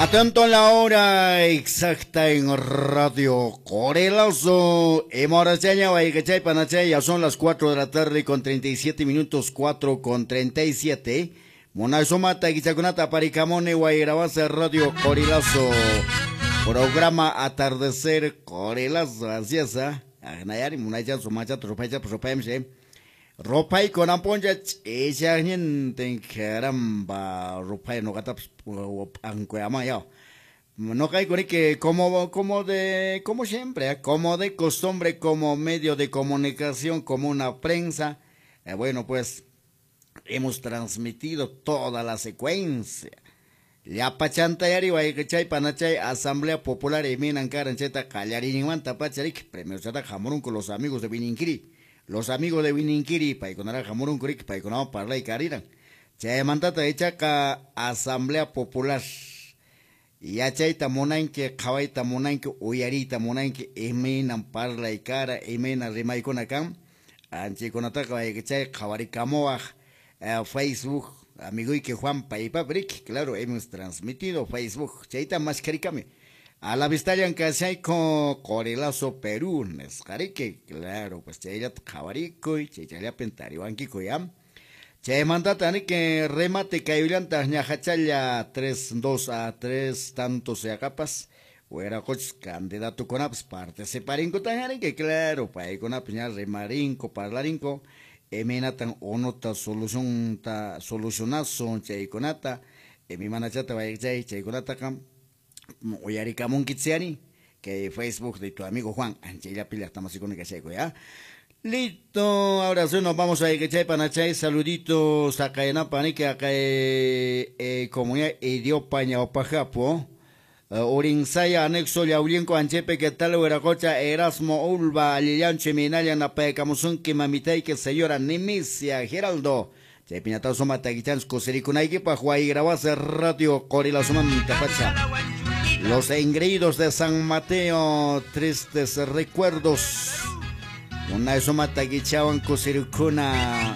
Atento a la hora exacta en Radio Corelazo. Emorachaña, Guaycachay, Panachay, ya son las 4 de la tarde con 37 minutos, 4 con 37. Monasomata, Guichacunata, Paricamone, Guayrabasa, Radio Corelazo. Programa Atardecer Corelazo, así es, ¿ah? Agnayari, Munaycha, Sumacha, Trupaycha, Rupayamse. Rupay konamponcha, ch'ishaqñintin, caramba, rupay noqatapas p'anquyama ya. No que como siempre, ¿eh? Como de costumbre, como medio de comunicación, como una prensa, bueno, pues hemos transmitido toda la secuencia. Llapachantayari wayqichay panachay Asamblea Popular imaynan karan chayta qallariyninmanta pacha riki primero chaytaqa hamurunku los amigos de Wininkiri. Los amigos de Wininkiri paykunaraqa hamurunku riki paykunawan parlay kariran. Chaymantata ichaqa Asamblea Popular yachayta munanki qhawayta munanki uyariyta munanki imaynan parlay kara imayna rimaykuna kan anchaykunataqa wayqichay qhawarikamuwaq Facebook amigoyki Juan paypapi riki, claro, hemos transmitido Facebook chayta maskarikami a la vistallan kashayku Corelazo Perú nisqa riki, claro, pues chayllata qhawarikuy chaychallapin tariwankiku ya. Chaymantata riki remate kayullantaq ñaqachalla 3, 2 a 3 tantos yaqapas wiraqochis candidatukunapas participarinkutan riki, claro, paykunapas ña rimarinku parlarinku imaynatan unuta solucionta solucionasun chaykunata imaymanachata wayqichay chaykunataqa uyarikamunkichari que Facebook de tu amigo Juan anchayllapi llaqtamasikuna kashayku ya. Listo, ahora sí nos vamos a ir, panachay, saluditos acá en Apanique, acá comunidad Idiopa Ñaupajapo, Urinsaya, anexo Yaulienco, Anchepe, ¿qué tal, Hueracocha, Erasmo, Ulva, Alillanche, Minaya, Napaecamusunki, Mamitayque, señora Nemesia, Geraldo, Chaypiñatao, Soma, Taguichan, Cosericunaiki, Juay, Radio, Corila, Sumanta, Pacha. Los engreídos de San Mateo, tristes recuerdos. Una suma taquichawan kusirukuna.